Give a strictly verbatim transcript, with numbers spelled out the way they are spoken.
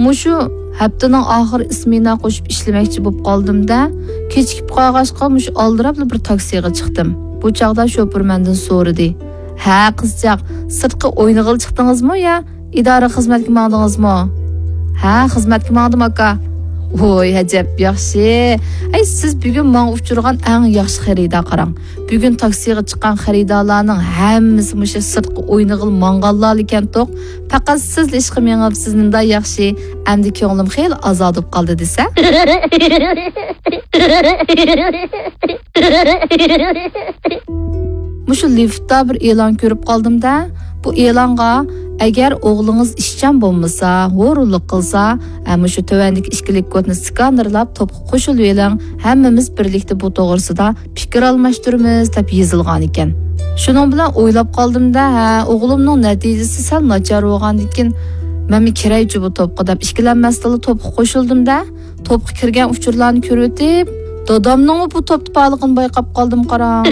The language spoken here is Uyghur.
مۇشۇ ھەپتىنىڭ ئاخىرى ئىسمېنا قوشۇپ ئىشلىمەكچى بولۇپ قالدىم-دە، كېچىكىپ قالغاچقا مۇشۇ ئالدىراپلا بىر تاكسىغا چىقتىم. بۇ چاغدا شوپۇر مەندىن سورىدى، «ھە، قىزچاق، سىرتقا ئوينىغىلى چىقتىڭىزمۇ يا ئىدارە خىزمەتكە ماڭدىڭىزمۇ؟» «ھە، خىزمەتكە ماڭدىم، ئاكا.» «ۋوي، ئەجەب ياخشى. ئەي، سىز بۈگۈن ماڭا ئۇچرىغان ئەڭ ياخشى خېرىدار، قاراڭ. بۈگۈن تاكسىغا چىققان خېرىدارلارنىڭ ھەممىسى مۇشۇ سىرتقا ئوينىغىلى ماڭغانلارلا ئىكەنتۇق. پەقەت سىزلا ئىشقا مېڭىپسىز، نېمانداق ياخشى. ئەمدى كۆڭلۈم خېلى ئازادە بولۇپ قالدى دېسە.» مۇشۇ لىفتتا بىر ئېلان كۆرۈپ قالدىم-دە. بۇ ئېلانغا، «ئەگەر ئوغلىڭىز ئىشچان بولمىسا، ھۇرۇنلۇق قىلسا، ھە، مۇشۇ تۆۋەندىكى ئىككى لىك كودنى سكانېرلاپ توپقا قوشۇلۇۋېلىڭ، ھەممىمىز بىرلىكتە بۇ توغرىسىدا پىكىر ئالماشتۇرىمىز» دەپ يېزىلغان ئىكەن. شۇنىڭ بىلەن ئويلاپ قالدىم-دە، ھە، ئوغلۇمنىڭ نەتىجىسى سەل ناچار بولغاندىكىن، مەنمۇ كىرەيچۇ بۇ توپقا دەپ ئىككىلەنمەستىنلا توپقا قوشۇلدۇم-دە، توپقا كىرگەن ئۇچۇرلارنى كۆرۈۋېتىپ، دادامنىڭمۇ بۇ توپتا بارلىقىنى بايقاپ قالدىم، قاراڭ.